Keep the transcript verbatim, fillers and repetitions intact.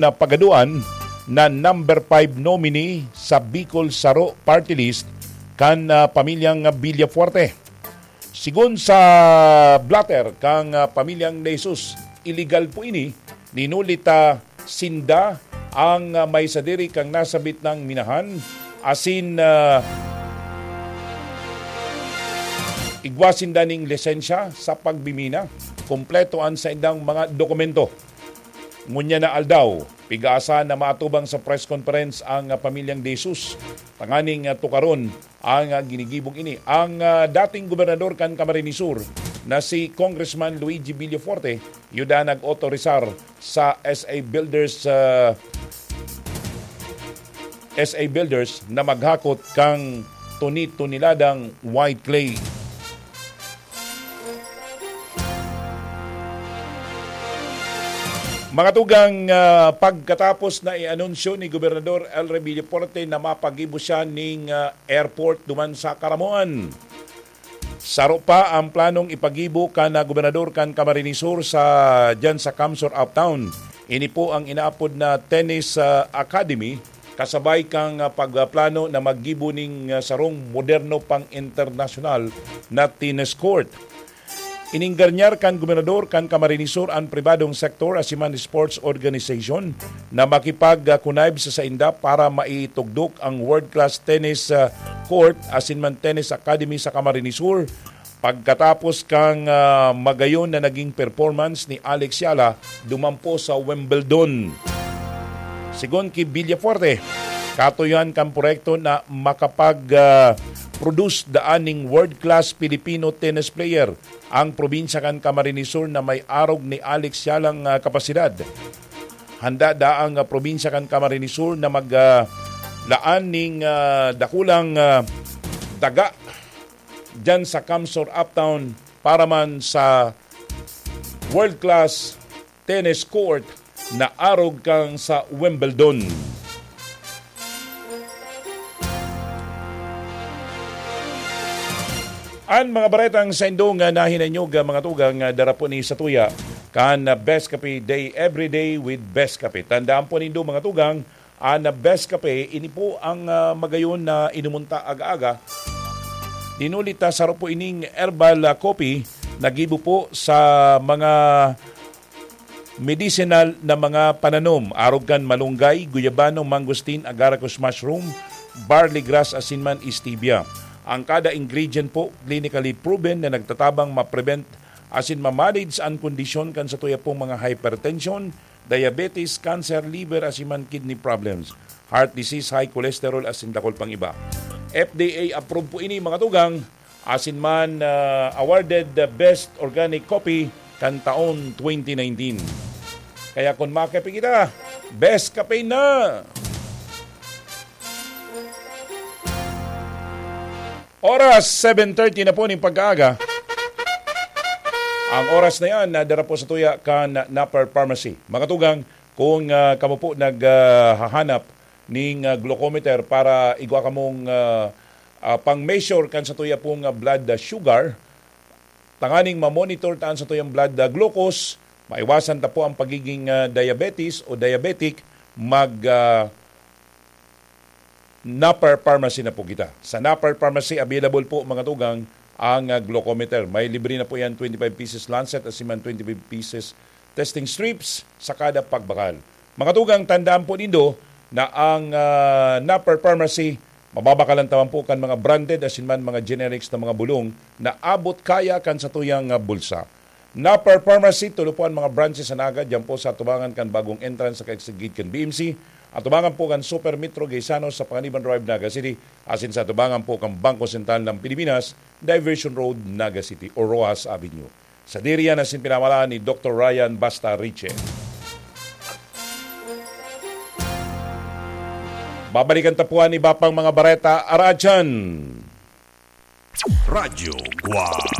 na pagaduan na number five nominee sa Bicol Saro Party List kan, ah, pamilyang Villafuerte. Sigon sa blotter kan, ah, pamilyang De Jesus, iligal po ini, hinuli ta sinda ang, ah, may sadiri kan nasabit na minahan, asin, ah, igwa sinda ning lisensya sa pagmimina. Kompleto an saindang mga dokumento. Ngunyan na aldaw, pig-aasahan na maatubang sa press conference ang, ah, pamilyang De Jesus, tanganing, ah, tukaron ang, ah, ginigibong ini. Ang, ah, dating gobernador kan Camarines Sur na si Congressman Luigi Villafuerte, yuda nag-otorisar sa S A Builders, ah, S A Builders na maghakot kan tuni-tuniladang white clay. Mga tugang, ah, pagkatapos na i-anunsyo ni Gobernador El Rey Villafuerte na mapagibo siya ning, ah, airport duman sa Caramoan. Saro pa ang planong ipagibo kan, ah, gobernador kan Camarines Sur sa, diyan sa Camsur Uptown. Ini po ang inaapod na Tennis, ah, Academy, kasabay kan, ah, pagplano na maggibo ning, ah, sarong moderno pang internasyonal na tennis court. Ininggarnyar kan gobernador kan Camarines Sur an pribadong sektor asin man sports organization na makipag-connive sa sainda para maitugdok ang world-class tennis, ah, court asin man tennis academy sa Camarines Sur, pagkatapos kan, ah, magayon na naging performance ni Alex Yala duman po sa Wimbledon. Sigon ki Villafuerte, katuyohan kan proyekto na makapag, ah, produce daan ning world-class Filipino tennis player ang probinsya kan Camarines Sur na may arog ni Alex Yalang, ah, kapasidad. Handa daang, ah, probinsya kan Camarines Sur na mag, ah, laan ning, ah, dakulang, ah, daga diyan sa Camsur Uptown para man sa world-class tennis court na arog kan sa Wimbledon. An mga baretang saindo nga nahinanyog, ah, mga tugang, ah, dara po ni satuya kan, ah, Best Cafe Day, Every Day with Best Cafe. Tandaan po nindo, mga tugang, an, ah, Best Cafe, ini po ang, ah, magayon na inumunta aga-aga. Dinuli ta saro po ining herbal, ah, coffee, nagibo po sa mga medicinal na mga pananom, arog kan malunggay, guyabano, mangosteen, agaricus mushroom, barley grass, asin man stevia. Ang kada ingredient po, clinically proven na nagtatabang ma-prevent asin ma-manage an kondisyon kan satuya pong mga hypertension, diabetes, cancer, liver, asin man kidney problems, heart disease, high cholesterol, asin dakul pang iba. F D A approved po ini, mga tugang, asin man, ah, awarded the best organic coffee kan taon twenty nineteen. Kaya kun makape kita, best kape na! Oras, seven thirty na po ning pagkaaga. Ang oras na yan, nadara po satuya kan Napper Pharmacy. Mga tugang, kung, ah, kamo po nag, ah, hahanap ning, ah, glucometer para igwa kamong, ah, ah, pang-measure kan satuya pong, ah, blood, ah, sugar, tanganing ma-monitor ta an satuyang blood, ah, glucose, maiwasan ta po ang pagiging, ah, diabetes o diabetic, mag, ah, Napper Pharmacy na po kita. Sa Napper Pharmacy, available po, mga tugang, ang, ah, glucometer. May libre na po yan, twenty-five pieces lancet, asin man twenty-five pieces testing strips sa kada pagbakal. Mga tugang, tandaan po nindo na ang, ah, Napper Pharmacy, mababakalan ta man po kan mga branded asin man mga generics na mga bulong na abot kaya kan satuyang, ah, bulsa. Napper Pharmacy, tulo po an mga branches sa Naga, diyan po sa atubangan kan bagong entrance sa kaigsigid kan B M C, atubangan po kan Super Metro Gaisano sa Panganiban Drive, Naga City, asin sa atubangan po kan Bangko Sentral ng Pilipinas, Diversion Road, Naga City, o Roxas Avenue. Sadiri yan asin pinamalaan ni Doktor Ryan Basta Riche. Babalikan ta po an iba pang mga bareta, araadyan. Radyo Guwang.